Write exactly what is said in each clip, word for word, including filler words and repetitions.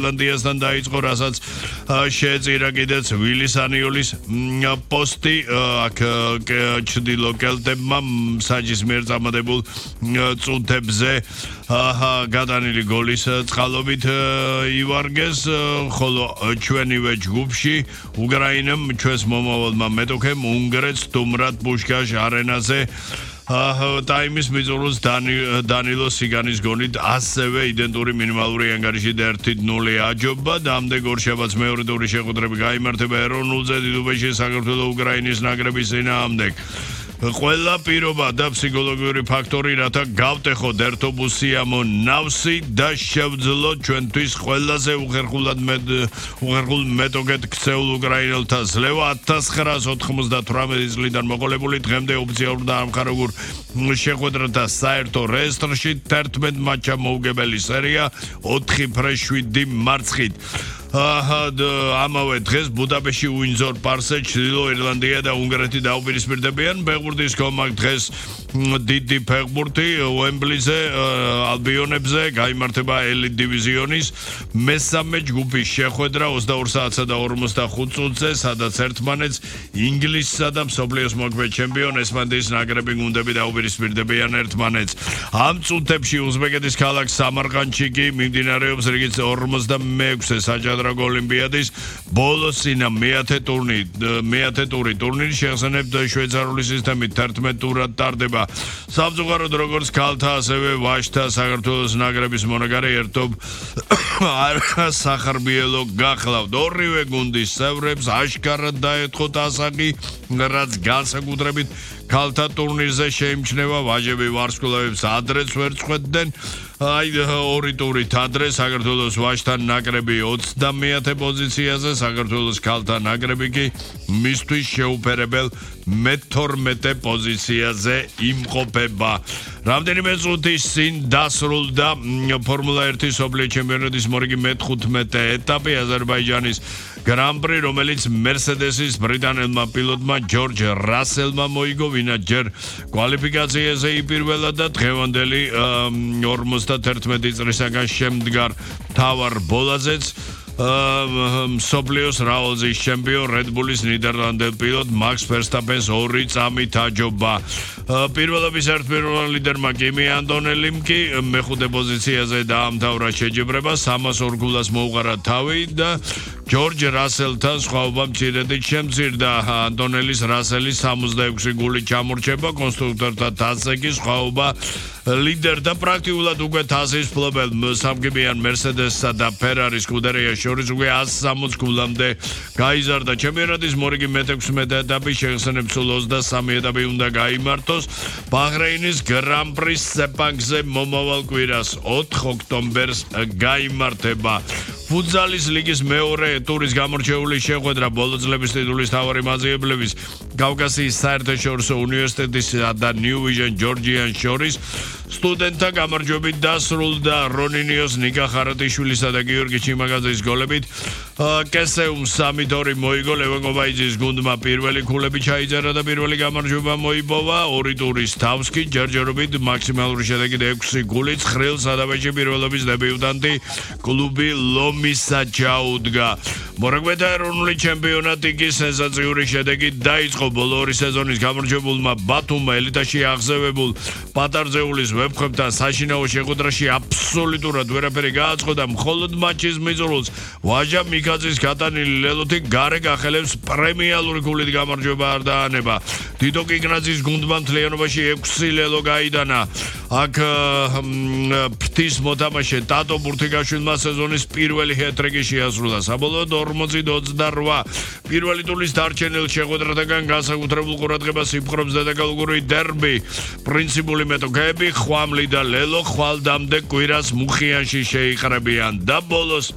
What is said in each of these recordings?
Irlandiasთან დაიწყო, რასაც შეეწირა კიდეც ვილის ანიოლის პოსტი აქ ჩრდილო კელტებმა საჯის მიერ წამოდებულ წუთებზე გადანილი გოლის წყალობით ივარგეს, ხოლო ჩვენივე ჯგუფში უკრაინამ ჩვენს მომავალმა მეტოქემ უნგრეთს სტუმრად პუშკაშ არენაზე ტაიმის მიწურულს დანილო სიგანის გონით ასევე იდენტური მინიმალური ანგარიში ერთი ნული აჯობა და ამდენ ორშაბათს მეორე ტური შეხვედრები გაიმართება ეროვნულზე დიდუბეში საქართველოს უკრაინის ნაკრების წინააღმდეგ. Ყველა პირობა და ფსიქოლოგიური ფაქტორი, რათა გავტეხოთ ერთობ უსიამო ნავსი და შევძლოთ ჩვენთვის ყველაზე უხერხულად უხერხულ მეტოქედ ქცეულ უკრაინელთა ძლევა ათას ცხრაას ოთხმოცდათვრამეტი წლიდან მოყოლებული დღემდე ოფიციალურ და ამხარებულ შეხვედრათა საერთო რეესტრში თერთმეტ მატჩა მოუგებელი სერია ოთხი ფრე შვიდი მარცხით. ამავე დღეს ბუდაპეშტში უინძორ პარკზე ჩრდილო ირლანდია და უნგრეთი დაუპირისპირდებიან ფეხბურთის კომაკ დღეს დიდი ფეხბურთი უემბლიზე ალბიონებზე გაიმართება ელიტ დივიზიონის მესამე ჯგუფის შეხვედრა ოცდაორ საათსა და ორმოცდახუთ წუთზე, სადაც ერთმანეთს ინგლისსა და მსოფლიოს მოქმედ ჩემპიონ ესპანეთის ნაკრები გუნდები დაუპირისპირდებიან ერთმანეთს. ამ წუთებში უზბეკეთის ქალაქ სამარყანდში კი მიმდინარეობს რიგით ორმოცდამეექვსე საჭადრაკო ოლიმპიადის ბოლოსინა მეათე ტურნი მეათე ტური ტურნირი შეახსენებთ შვეიცარიული სისტემით თერთმეტ ტურად ტარდება. Სამწუხაროდ როგორც ქალთა ასევე ვაჟთა საქართველოს ნაკრების მონაგარე ერთობ სახარბიელო გახლავთ. ორივე გუნდის წევრებს აშკარად დაეთხოთ ასაკი, რაც განსაკუთრებით ქალთა ტურნირზე შეიმჩნევა. ვაჟები ვარსკვლავებს ადრეც ვერ წვეთდნენ. აი ორი ტურით ადრე საქართველოს ვაჟთა ნაკრები ოცდამეათე პოზიციაზე, საქართველოს ქალთა ნაკრები კი მისთვის შეუფერებელ მეთორმეტე პოზიციაზე იმყოფება. რამდენიმე წუთის წინ დასრულდა ფორმულა ერთის მსოფლიო ჩემპიონატის მორიგი მეთხუთმეტე ეტაპი აზერბაიჯანის გრან-პრი, რომელიც მერსედესის ბრიტანელმა პილოტმა ჯორჯ რასელმა მოიგო, ვინაც ჯერ კვალიფიკაციაზე იპირველა და დღევანდელი ორმოცდათერთმეტი წლისაგან შემდგარ მთავარ ბოლაზეც მსოფლიოს რავალზის ჩემპიონ რედბულის ნიდერლანდელ პილოტ მაქს ფერსტაპენს ორი წამით აჯობა. პირველობის ერთპიროვნულ ლიდერმა კიმი ანტონელიმ კი მეხუთე პოზიციაზე დაამთავრა შეჯიბრება, სამას ორ გულას მოუყარა თავი და ჯორჯ რასელთან სხვაობა მცირედით შემცირდა. ანტონელის რასელის სამოცდაექვსი გული ჩამორჩება, კონსტრუქტორთა თასზე კი სხვაობა ლიდერთა პრაქტიკულად უკვე თასის მფლობელ სამგებიან მერსედესსა და ფერარის სკუდერია შორის უკვე ას სამოცი გულამდე გაიზარდა. ჩემპიონატის მორიგი მეთექვსმეტე ეტაპი შეხსენებთ სულ ოცდასამი ეტაპი უნდა გაიმართოს. ბაჰრეინის გრან-პრის სეპანგზე მომავალ კვირას ოთხ ოქტომბერს გაიმართება. ფუტზალის ლიგის მეორე ტურის გამორჩეული შეხვედრა ბოლო წლების ტიტულის მთავარი მაძიებლების კავკასიის საერთაშორისო უნივერსიტეტისა და New Vision ჯორჯიან შორის სტუდენტთა გამარჯვებით დასრულდა. რონინიოს, ნიკა ხარატიშვილისა და გიორგი ჩიმაგაძის გოლებით კესეუმ სამი ორი მოიგო. ლევან-კობაიძის გუნდმა პირველი ქულები ჩაიწერა და პირველი გამარჯვება მოიპოვა. ორი ტურის თავს კი ჯერჯერობით მაქსიმალური შედეგით ექვსი გულით ცხრილ სადავეჯი პირველობის დებიუტანტი კლუბი ლომისა ჩაუდგა. მორაგბეთა ეროვნული ჩემპიონატი კი სენსაციური შედეგით დაიწყო. ბოლო ორი სეზონის გამარჯვებულმა ბათუმმა ელიტაში აღზევებულ პატარძეულის ვებხვებთან საშინაო შეხვედრაში აბსოლუტურად ვერაფერი გააწყო და მხოლოდ მატჩის მიწურულს ვაჟა მიქაძის გატანილი ლელოთი გარე გახელებს პრემიალური გულით გამარჯვება არ დაანება. დიდო კიკნაძის გუნდმა მთლიანობაში ექვსი ლელო გაიდანა. აქ ფრთის მოთამაშე ტატო ბურთიგაშვილმა სეზონის პირველი ჰეტრიკი შეასრულა. საბოლოოდ ორმოცი ოცდარვა პირველი ტურის დარჩენილ შეხვედრათაგან განსაკუთრებულ ყურადღებას იპყრობს დედაქალაქური დერბი. პრინციპული მეტოქეები ხვამლი და ლელო ხვალდამდე კვირას მუხიანში შეიყრებიან და ბოლოს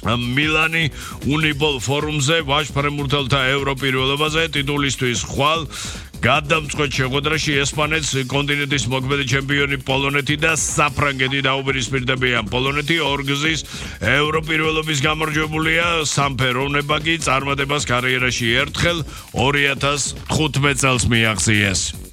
მილანი უნიპოლ ფორუმზე ვაჟ-ფრენბურთელთა ევროპირველობაზე ტიტულისთვის ხვალ გადამწყვეტ შეხვედრაში ესპანეთს კონტინენტის მოქმედი ჩემპიონი პოლონეთი და საფრანგეთი დაუპირისპირდებიან. პოლონეთი ორგზის ევროპირველობის გამარჯვებულია, სამფეროვნება კი წარმატებას კარიერაში ერთხელ ორი ათას თხუთმეტ წელს მიაღწიეს.